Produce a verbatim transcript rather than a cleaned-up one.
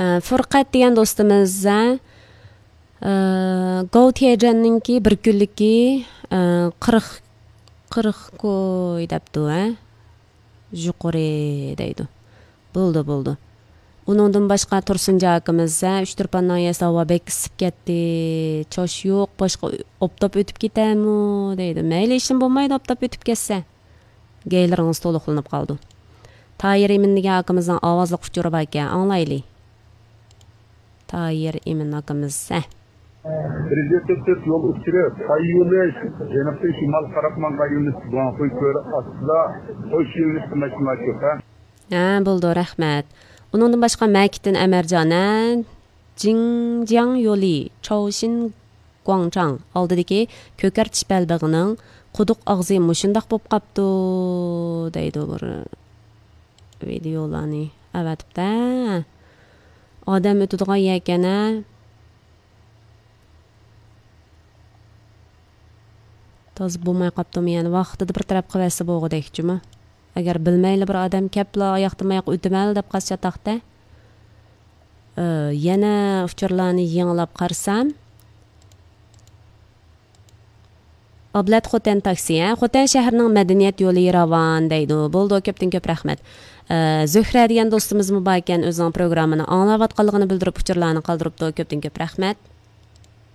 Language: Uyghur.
ئە، فۇرقەت دېگەن دوستىمىز، ھە، ئە، گوۋ تيەيجيەننىڭكى بىر كۈنلۈكى، ئە، قىرىق، قىرىق كوي دەپتۇ، ھە؟ يۇقىرى دەيدۇ. بولدى، بولدى. ئۇنىڭدىن باشقا تۇرسۇنجان ئاكىمىز، ھە، ئۇچتۇرپان ناھىيەسىدە ھاۋا بەك ئىسسىپ كەتتى. چاش يوق، باشقا ئوپتاپ ئۆتۈپ كېتەرمۇ دەيدۇ. مەيلى، ئىشىم بولمايدۇ، ئوپتاپ ئۆتۈپ كەتسە. گەيلىرىڭىز تولۇقلىنىپ قالىدۇ. تاھىر ئىمىن دېگەن ئاكىمىزنىڭ ئاۋازلىق ئۇچۇرى باركەن، ئاڭلايلى. تاھىر ئىمىن ئاكىمىز، ھە. بىر يۈز يەتمىش تۆت يول ئۇچۇرى، پاي يولى، جەنۇبتىن شىمالغا قاراپ ماڭغان يولى، گۇاڭخۇي كۆلى ئاستىدا قوش يۆنىلىشلىك ماشىنىلار كۆپ، ھە؟ ھە، بولدى، رەھمەت. ئۇنىڭدىن باشقا مەكىتتىن ئەمەرجان، ھە، جىڭجياڭ يولى، چاۋشىن گۇاڭچاڭ ئالدىدىكى كۆكەرتىش بەلبېغىنىڭ قۇدۇق ئاغزى مۇشۇنداق بولۇپ قاپتۇ، دەيدۇ بىر ۋىدېئولارنى ئەۋەتىپتە. ئادەم ئۆتىدىغان يەركەن، ھە؟ تازا بولماي قاپتۇمۇ يەنە؟ ۋاقتىدا بىر تەرەپ قىلىۋەتسە بولغۇدەكچىمۇ؟ ئەگەر بىلمەيلا بىر ئادەم كەپلا ئاياقتىن ئاياققا ئۆتىمەن دەپ قالسا چاتاقتە. ئى، يەنە ئۇچۇرلارنى يېڭىلاپ قارىسام، ئابلەت خوتەن تاكسى، ھە؟ خوتەن شەھىرىنىڭ مەدەنىيەت يولى راۋان دەيدۇ. بولدى، كۆپتىن كۆپ رەھمەت. ئى، زۆھرە دېگەن دوستىمىزمۇ باركەن، ئۆزىنىڭ پروگراممىنى ئاڭلاۋاتقانلىقىنى بىلدۈرۈپ ئۇچۇرلارنى قالدۇرۇپتۇ. كۆپتىن كۆپ رەھمەت.